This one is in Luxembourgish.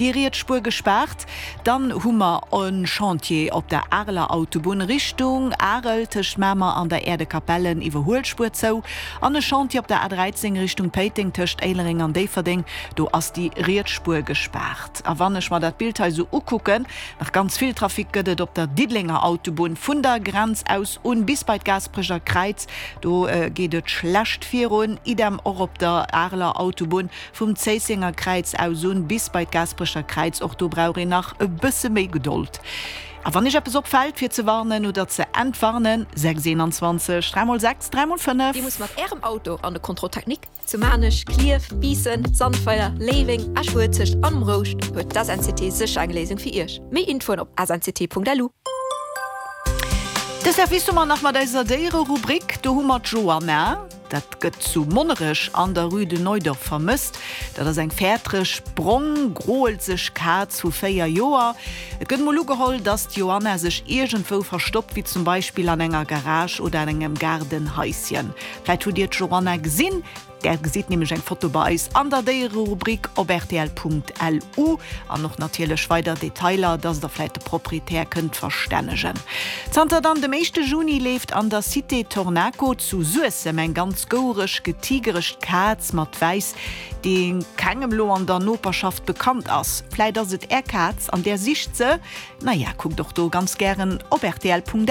Déi riets Spuer gespaart. Dann hu mer e Chantier op der Areler Autobunn Richtung Arel tëscht Mamer an der Äerdekapellen, Iwwerhuelspuer zou. An e Chantier op der A13 Richtung Péiteng tëscht Éilereng an Déifferdeng, do ass déi riets Spuer gespaart. A wann ech mer dat Bild hei esou ukucken, nach ganz vill Trafic gëtt et op der Diddelenger Autobunn vun der Grenz aus un bis bei d'Gaasperecher Kräiz, do geet et schlecht virun. Idem och op der Areler Autobunn Vum Zéissenger Kräiz aus un bis bei d'Gaasperecher Kräiz, och do brauch een nach e bësse méi Gedold. A wann Iech eppes opfält, fir ze warnen oder ze entwarnen, 6 21 3 mol 6 3 mol 5. Dir musst mat Ärem Auto an de Contrôle technique? Zu Maarnech, Klierf, Biissen, Sandweiler, Léiweng, Esch-Uelzecht an um Rouscht huet d'SNCT sécher eng Léisung fir Iech. Méi Infoen op snct.lu. De Service hu mer nach mat eiser Déiererubrik. Do hu mer d'Joanna. Dat gëtt zu Monnerech an der Rue de Neudorf vermësst. Dat ass eng fäertereg, brong, groelzeg Kaz vu 4 Joer. Et gëtt mol ugeholl, dass d'Joanna sech iergendwou verstoppt, wéi zum Beispill an enger Garage oder an engem Gaardenhaisschen. Vläit hutt Dir d'Joanna gesinn? Där gesitt nämlech eng Foto bei eis an der Déiererubrik op rtl.lu an och natierlech weider Detailer, dass Der vläit de Proprietär kënnt verstännegen. Zanter dann dem éischte Juni leeft an der Cité Tornaco zu Suessem eng ganz gouereg, getigeregt Kaz mat wäiss, déi kengem lo an der Noperschaft bekannt ass. Vläit ass et är Kaz an där sicht se? Naja, kuckt och do ganz gären op rtl.lu.